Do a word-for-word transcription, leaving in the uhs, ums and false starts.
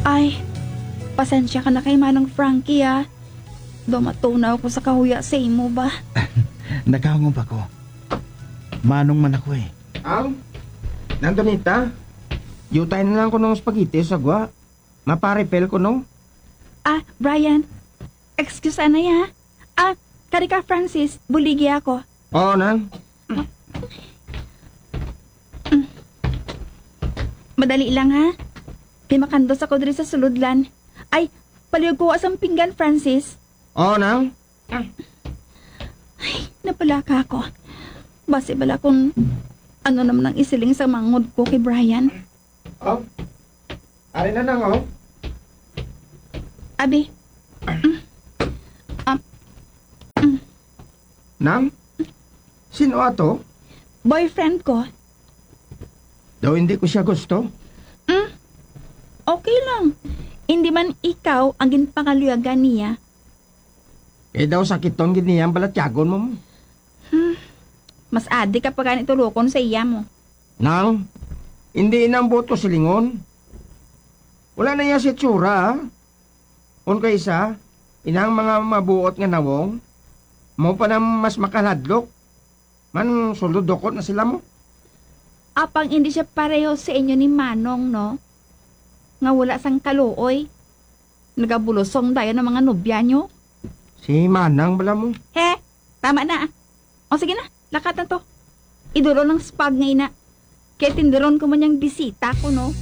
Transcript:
Ay, pasensya ka na kay Manong Frankie, ah. Daw matunaw ko sa kahuya sa imo ba? Nagahangop ako. Manong man ako eh. Ang? Nandunita? Yutay na lang ko ng spaghetti sa gwa. Maparipel ko, no? Ah, Brian, excuse anay, ha? Ah, kari ka, Francis, buligi ako. Oo, nang. Madali lang, ha? Kay makandos ako diri sa sulodlan. Ay, palihog ko sang pinggan, Francis. Oo, nang. Ay, napalaka ako. Basi bala kung ano naman ang isiling sa manghod ko kay Brian. Oh, ari na, nang, oh. Abi. Mm. Ah, mm. Nang? Sino ato? Boyfriend ko. Daw hindi ko siya gusto? Mm. Okay lang. Hindi man ikaw ang ginpangaluyagan niya. Eh, daw sakiton gid niya ang balatyagon mo. Hmm. Mas adi ka pa gani tulokon sa iya mo. Nang, hindi ina ang buot ko silingon. Wala na iya si tsura, ah. Un kaysa, inang mga mabuot nga nawong, mo pa na mas makaladlok. Man, sulod dukot na sila mo. Apang hindi siya pareho sa inyo ni Manong, no? Nga wala sang kaluoy. Nagabulusong dayon ang mga nobya nyo. Si Manang bala mo. He, tama na, ah. O sige na, lakat na to. Idulon ang spag nga ina. Kay tinduron ko man yang bisita ko, no?